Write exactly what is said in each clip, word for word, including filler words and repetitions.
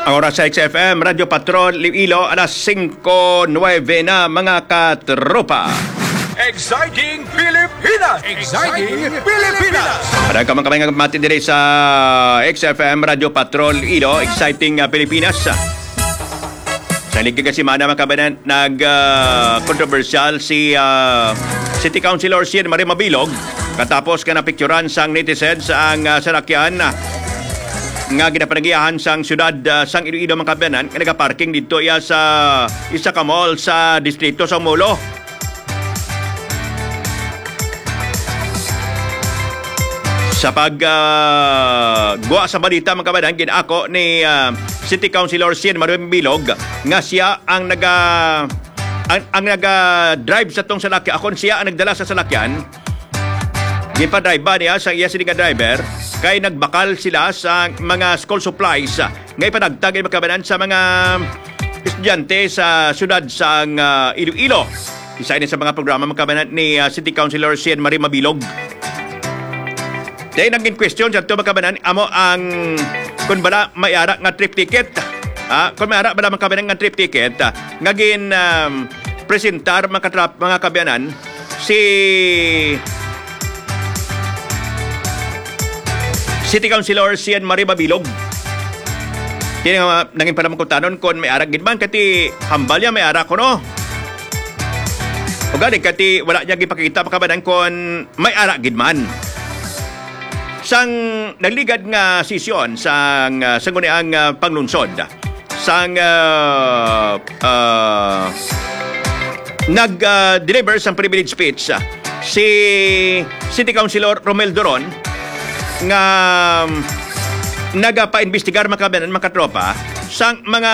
Ang oras sa X F M Radyo Patrol Iloilo, alas singko nuwebe na, mga katropa. Exciting Pilipinas! Exciting Pilipinas! Para ka man kami nga mati diri sa X F M Radyo Patrol Iloilo, Exciting, ah, Pilipinas. Sa ligid nga semana, mga kabanan, nag, ah, kontrobersyal si, ah, City Councilor Sian Marie Mabilog katapos nga napicturan sang netizens ang, ah, salakyan, ah, nga ginapanagiahan sang siyudad, ah, sang Iloilo, mga kabanan, nga nagaparking didto iya sa isa ka mall sa distrito sa Molo. Sa pag, ah, guwa sa balita, mga kabanan, gin-ako ni, ah, City Councilor Sian Marie Mabilog nga siya ang naga-, ang, ang naga-drive sa tong salakyan. Akon siya ang nagdala sa salakyan. Ginpadrive niya sa iya sini nga driver kay nagbakal sila sa mga school supplies, ah, nga ipanagtag, mga kabanan, sa mga estudyante sa siyudad sang, ah, Iloilo. Isa ini sa mga programa, mga kabanan, ni, ah, City Councilor Sian Marie Mabilog. Then, ang in question sa ato, mga kabanan, amo ang kung bala may ara nga trip ticket. Ah, kung may ara bala, mga kabanan, nga trip ticket, ah, nga gin, um, presentar, mga katrap-, mga kabanan, si City Councilor Sian Marie Mabilog. Kini nga nangin pala mangkutanon kon may ara gid man, kati hambal niya may ara kuno. O gani, kati wala niya gipakita, mga kabanan, kon may ara gid man. Sang nagligad nga sesyon sang, ah, sangguniang, ah, panglunsod, sang, ah, ah, nag, ah, deliver sang privilege speech, ah, si City Councilor Romel Doron nga, um, nagapaimbestigar, mga kabanan, mga katropa, sang mga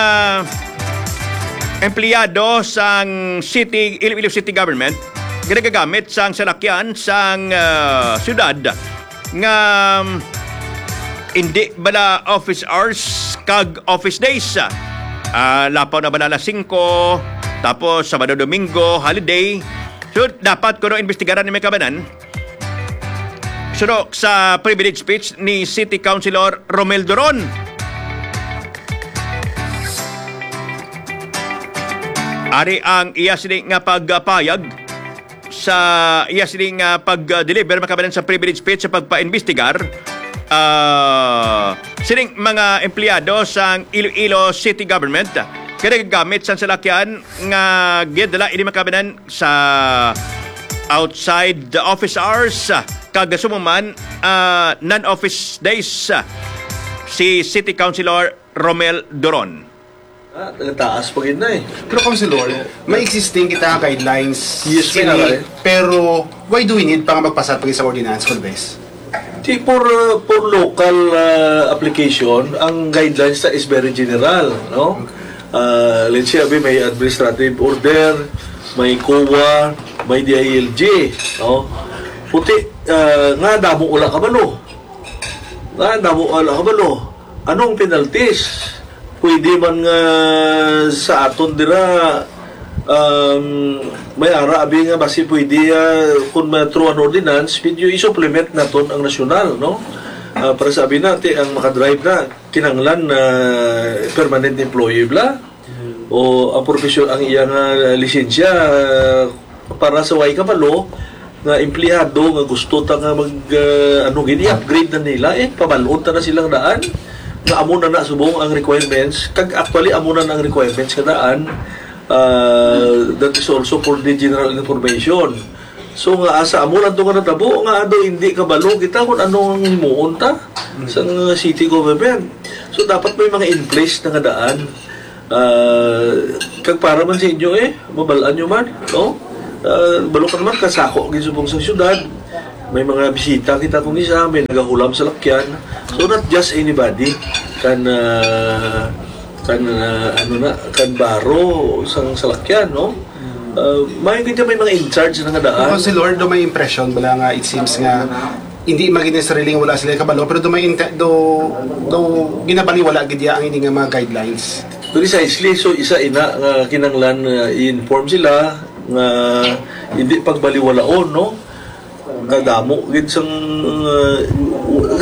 empleyado sang city, Iloilo City Government nga nagagamit sang salakyan sang, ah, siyudad nga, um, hindi bala office hours kag office days. Ah, lapaw na bala alas singko, tapos Sabado, Domingo, holiday. So, dapat kuno imbestigaran ni, mga kabanan. Suno sa privilege speech ni City Councilor Romel Doron. Ari ang iya sini nga pagpayag sa iya sini nga pag-deliver, mga kabanan, sa privilege speech sa pagpaimbestigar, ah, sining mga empleyado sang Iloilo City Government nga nagagamit sang salakyan nga ginadala ini, mga kabanan, sa outside the office hours, ah, kag sumuman, ah, non-office days, ah, si City Councilor Romel Doron. Ah, taas pa gid na eh. Pero, Councilor, may existing kita nga guidelines Yes, may sini, aray. Pero why do we need pa nga magpasar pa gid sa ordinance, Congress? Di, for, uh, for local, uh, application, ang guidelines na is very general, no? Uh, let's say, abi, may administrative order, may COA, may D I L G, no? Puti, uh, nga damo wala kabalo. Nga damo wala kabalo. Anong penalties? Pwede man nga sa aton dira, um, may ara abi nga basi pwede, ah, kung ma-, through an ordinance, medyo i-supplement naton ang nasyonal, no? Ah, para sa abi na, ti, ang makadrive na, kinahanglan na permanent employee bala. O ang profesyon, ang iya nga lisensya, ah, para sa way kabalo, nga empleyado nga gusto ta nga mag, ah, ano gid, i-upgrade na nila, eh, pabalon ta na silang daan nga amo na na subong ang requirements, kag actually amo na na ang requirements nga daan, ah, that is also for the general information. So nga asa amo lang to nga natabo nga ado hindi kabalo kita kung ano ang himuon ta sa city government. So dapat may mga in place na nga daan. Ah, kag para man sa inyo, eh, mabal-an nyo man, no? Ah, balo ka naman, kasako gid subong sa syudad. May mga bisita kita kung isa, may nagahulam sa lakyan. So, not just anybody can, ah, can, ah, ano na, can borrow sang salakyan, no? Ah, may kita may mga in charge na nga daan. Councilor, do may impression bala nga it seems nga hindi magin necessarily nga wala sila kabalo, pero do may inte-, do, do ginabaliwala gid ya ang ini nga mga guidelines. Precisely, so isa ina nga kinanglan nga i-inform sila nga hindi pagbaliwalaon, no? Kadamo gid sang, uh,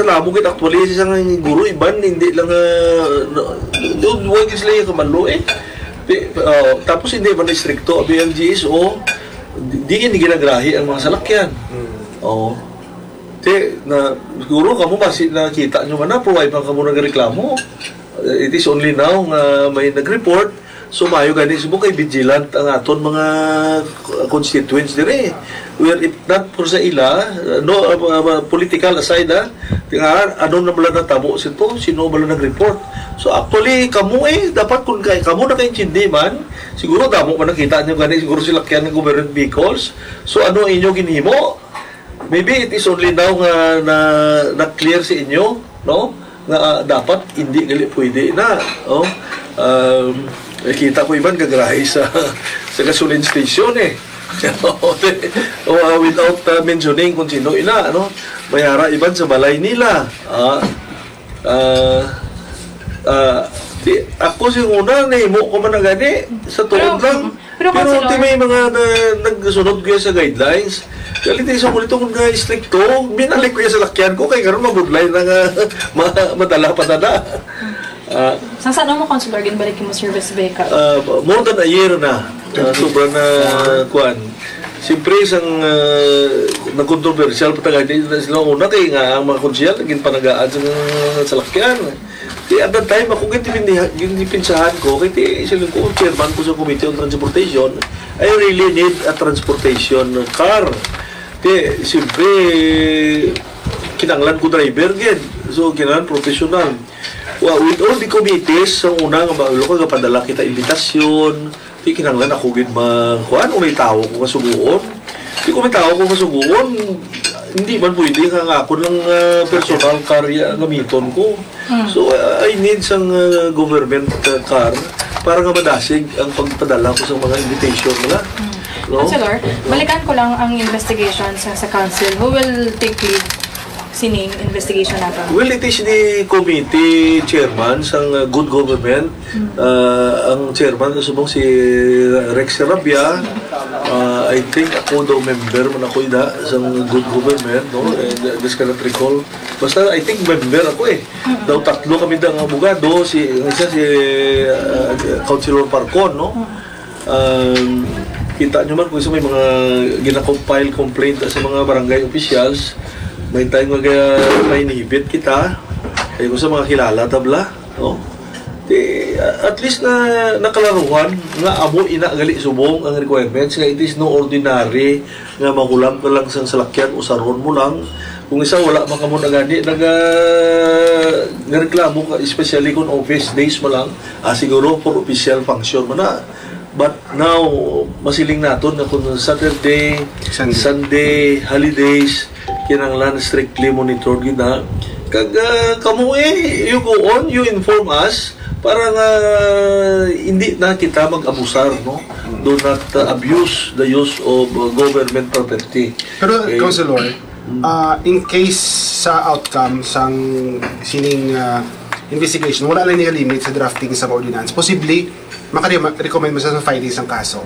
Namo gid actually sa isang guro iban, hindi lang, ah, no, no, wa gid sila kabalo eh. Di, ah, tapos hindi man istrikto ang B L G S O, di, di gid ginagrahi ang mga salakyan. Oo. Di, na, siguro kamo basi nakita nyo man na, pero wala pa kamo nagreklamo. It is only now nga may nag-report. So, maayo gani, subong kay vigilant ang aton mga constituents dire. Where if not for sa ila, no, uh, uh, political aside, ah, nga ano na bala natabo sito, sino bala nag-report. So, actually, kamo eh, dapat kung kay, kamo nakaintindi man, siguro damo man nakita nyo gani, siguro sila kaya ng government vehicles. So, ano ang inyo ginhimo? Maybe it is only now nga na, na-clear sa inyo, no? Nga, ah, dapat hindi gali pwede na, no? Um, nakita ko iban gagrahe sa, sa gasoline station eh. O, ah, without, ah, mentioning kung sino ila, no? May ara iban sa balay nila. Ah, ah, ah, di, ako sa una, nahimo ko man na gani, sa tuod Pero, lang. pero, Pero Councilor, di may mga na, nagsunod ko sa guidelines. Galit sa ulit kung nga istrikto, binalik ko sa lakyan ko, kay karon mabudlay na nga ma, madala pa na na. Ah, Sa saan mo, Councilor, ginbalik mo service vehicle? Ah, more than a year na. Ah, sobra na, kuan. Siyempre, isang, ah, nagkontrobersyal pa taga di na sila una kay nga ang mga konsehal naging panagaan sa mga salakyan. Di at that time, ako gintipindiha-, gintipinsahan ko, kay ti, sila ko, chairman ko sa Committee on Transportation, I really need a transportation car. Ti, siyempre, kinanglan ko driver gid. So, kinanglan professional. Wa, with all the committees, sa una nga ba, wala ko, gapadala kita imbitasyon, di kinanglan ako gid ma-, kuan, o may tawo ko kasugoon. Di ko may tawo ko kasugoon, hindi man pwede nga, nga ako lang, ah, personal car ya gamiton ko. Mm. So, ah, I need sang, ah, government, ah, car para nga madasig ang pagpadala ko sa mga invitation nila. Mm. No? Councilor, balikan ko lang ang investigation sa, sa council. Who will take lead sining investigation nato? Well, it is the committee chairman sang, uh, good government. Mm. Uh, ang chairman subong si Rex Sarabia. Uh, I think ako daw member man ako ida sang good government, no? And, uh, just cannot recall. Basta I think member ako eh. Mm. Daw tatlo kami da nga abogado, si, ang isa si, uh, Councilor Parcon, no? Mm. Um, kita nyo man kung sa may mga gina-compile complaint sa mga barangay officials, may time nga may inhibit kita, kaya kung sa mga kilala tabla, no? Di, uh, at least na nakalaruhan nga amo ina gali subong ang requirements nga it is no ordinary nga mahulam ka lang sang salakyan, usaron mo lang. Kung isa, wala man kamo na gani, naga-, nagreklamo ka, especially kung office days mo lang, ah, siguro for official function mo na. But now, masiling naton nga kung Saturday, Sunday. Sunday, holidays, kinahanglan strictly monitored gid na. Kag, ah, kamo eh, you go on, you inform us para nga hindi na kita mag-abusar, no? Do not, uh, abuse the use of, uh, government property. Pero, okay. Councilor, Mm. uh, in case sa outcome sang sining, uh, investigation, wala lang nakalimit sa drafting sa ordinance, possibly, maka-recommend mo sa filing sang kaso?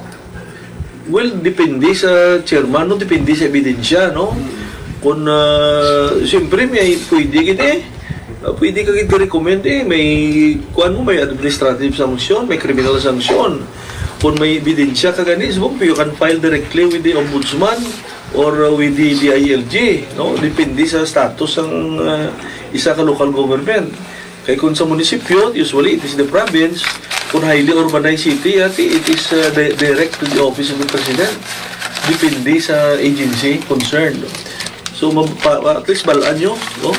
Well, depende sa chairman, no? Depende sa ebidensya, no? Kung, ah, siyempre, may pwede gid eh. Ah, pwede ka gid recommend eh. May, kuan mo, may administrative sanction, may criminal sanction. Kung may ebidensya ka gani, so, you can file directly with the ombudsman or, uh, with the D I L G, no? Depende sa status sang, uh, isa ka local government. Kay kung sa munisipyo, usually it is the province. Kung highly urbanized city, ati, it is, uh, di-, direct to the office of the president. Depende sa agency concerned. So, ma-, pa-, at least balaan nyo, no?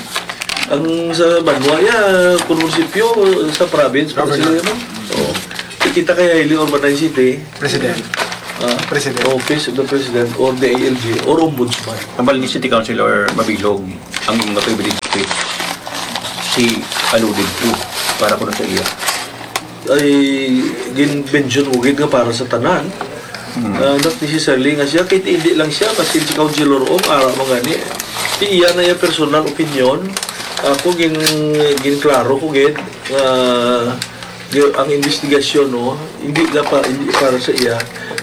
Ang sa banwa, ya, kung munisipyo, sa province, pa Governor. Sila, no? Oo. Kita kay highly urbanized city, President. Ah, President. Office of the President or the A L G or Ombudsman. Ang Balni City Councilor Mabilog, ang mga privilege speech, she alluded to para kuno sa iya. Ay, gin-mention mo gid nga para sa tanan. Hmm. Ah, not necessarily nga siya, kay hindi lang siya, kasi si Councilor Ong, ara man gani. Ti iya na iya personal opinion. Ako, gin-, ginklaro ko gid nga gi-, ang investigasyon, no, hindi na pa, hindi para sa iya,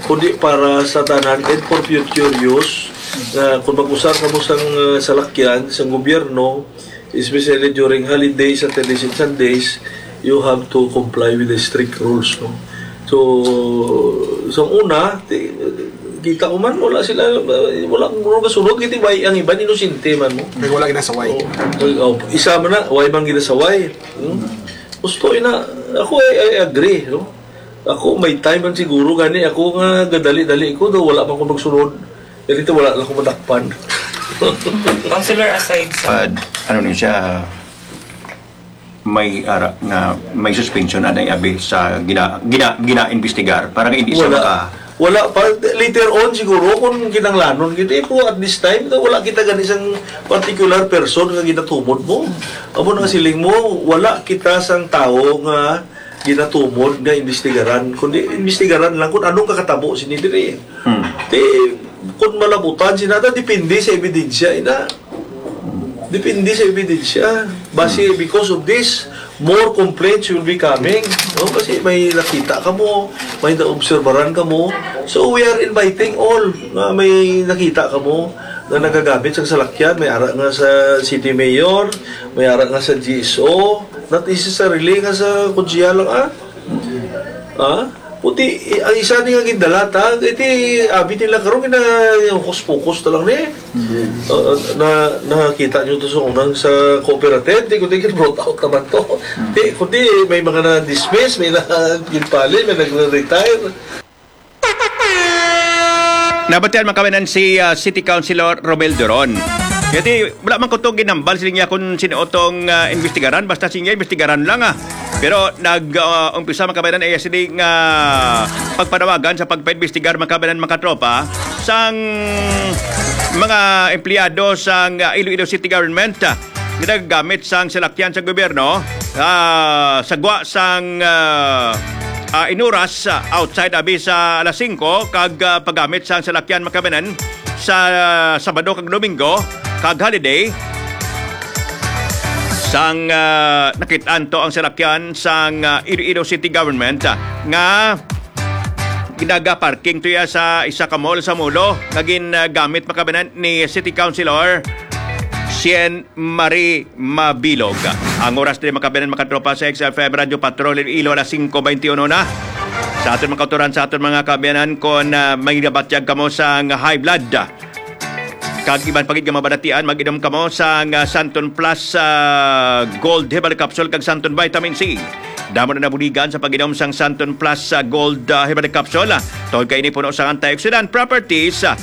kundi para sa tanan and for future use, nga kung mag-usar kamo sang, uh, salakyan sang gobyerno, Especially during holidays, Saturdays and Sundays, you have to comply with the strict rules, no? So, sa una, ti-, kita ko man, wala sila, wala, wala kasunod, kiti, why ang iban inosente man, no? Kay wala ginasaway. Oh, oh, isa man na, why man ginasaway? Hmm? Gusto, ina, ako, I, I agree, no? Ako, may time man siguro, gani ako nga gadali-dali ko, daw wala man ko magsunod. Ganito, wala lang ko madakpan. Councilor, aside sa Pad, ano ni siya, may ara nga may suspension anay abi sa gina, gina, gina-investigar para nga hindi siya Wala. maka Wala pa. Later on siguro kung kinanglanon kita, eh, pero at this time, wala kita gani sang particular person nga ginatumod mo. Amo na nga siling mo, wala kita sang tawo nga ginatumod nga imbestigaran, kundi imbestigaran lang kung anong kakatabo sini diri. Hmm. Ti, kung malabutan sina ta, depende sa ebidensya, ina. Depende sa ebidensya. Basi, Hmm. because of this, more complaints will be coming. No? Kasi may nakita ka mo, may naobserbaran ka mo. So, we are inviting all nga may nakita ka mo nga nagagamit sa salakyan. May ara nga sa city mayor, may ara nga sa G S O, not necessarily nga sa konsehal lang, ah. Ah? Puti, i-, ang isa ni nga gindala ta, iti abi nila karon gina, yung hokus-pokus na lang ni. Mhm. Uh, na, nakita nyo to sa unang sa cooperative, di ko tingin brought out naman to. Mhm. Di, kundi may mga na-dismiss, may na ginpali, may nagre-retire. Nabatian, mga kabayan, si, ah, City Councilor Romel Duron. Kaya di, wala man ko to ginambal sa linya kung sino tong, ah, imbestigaran, basta siya imbestigaran lang, ah. Pero nag, ah, umpisa, mga kabayan, ay sini nga pagpanawagan sa pagpaimbestigar, mga kabayan, mga katropa, sang mga empleyado sang, ah, Iloilo City Government, ah, nga nagagamit sang salakyan sa gobyerno, ah, sa gwa sang, ah, ah, inuras, ah, outside abi sa alas singko, kag, ah, paggamit sang salakyan, mga kabayan, sa Sabado kag Domingo kag holiday, sang, ah, nakit-an to ang salakyan sang, ah, Iloilo City Government, ah, nga ginaga-parking to ya sa isa ka mall sa Molo nga gin, ah, gamit, mga kabayan, ni City Councilor Cien Marie Mabilog. Ang oras diri, mga kabayan, mga katropa, sa X F M Radyo Patrol Iloilo, alas singko beintiuno na. Sa aton mga kautoran, sa aton mga kabayan, kung, ah, may nabatyag kamo sang high blood, kag iban pa gid nga mabalatian, mag-inom kamo sang, ah, Santon Plus, ah, Gold Herbal Capsule kag Santon Vitamin C. Damo na nabuligan sa pag-inom sang Santon Plus, ah, Gold, ah, Herbal Capsule, ah, tungod kay ini puno sang antioxidant properties, ah,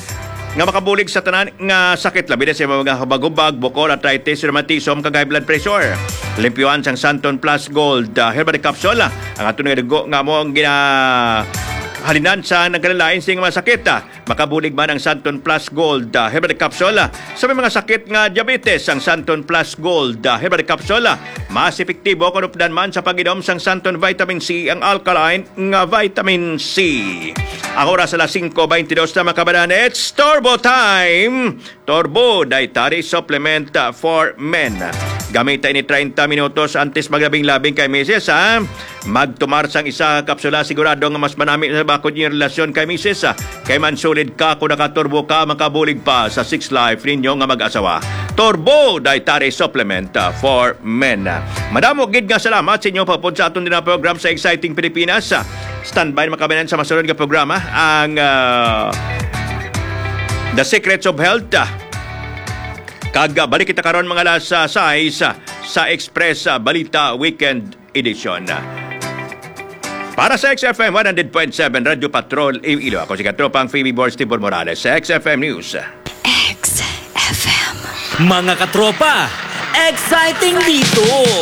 nga makabulig sa tanan nga sakit, labi na sa mga hubag-hubag, bukol, arthritis, rheumatism, kag high blood pressure. Limpyuhan sang Santon Plus Gold, ah, Herbal Capsule, ah, ang aton nga dugo nga amo ang ginahalinan sa nagkalain sing mga sakit, ah. Makabulig man ang Santon Plus Gold, ah, Herbal Capsule, ah, sa may mga sakit nga diabetes. Ang Santon Plus Gold, ah, Herbal Capsule, ah, mas epektibo kon updan man sa pag-inom sang Santon Vitamin C, ang alkaline nga vitamin C. Ang oras alas singko beintidos na, mga kabayan. It's Turbo Time! Turbo Dietary Supplement, ah, for Men. Gamita ini treinta minutos antes maglabing-labing kay misis, ha? Magtumar sang isa ka kapsula, sigurado nga mas manami sa bakod inyong relasyon kay misis, ah. Kay mansulid ka kung nakaturbo ka, makabulig pa sa sex life ninyo nga mag-asawa. Turbo Dietary Supplement, ah, for Men. Madamo gid nga salamat sa inyong pagpod sa aton din program sa Exciting Pilipinas, ah. Standby na, mga kabayan, sa masunod nga programa, ang, ah, The Secrets of Health, ah. Kag, ah, balik kita karon mga alas, ah, sais, ah, sa Express, ah, Balita Weekend Edition. Para sa X F M one hundred point seven Radyo Patrol Iloilo, ako si Katropang Phoebe Borstibor Morales sa X F M News. X F M. Mga katropa, exciting dito!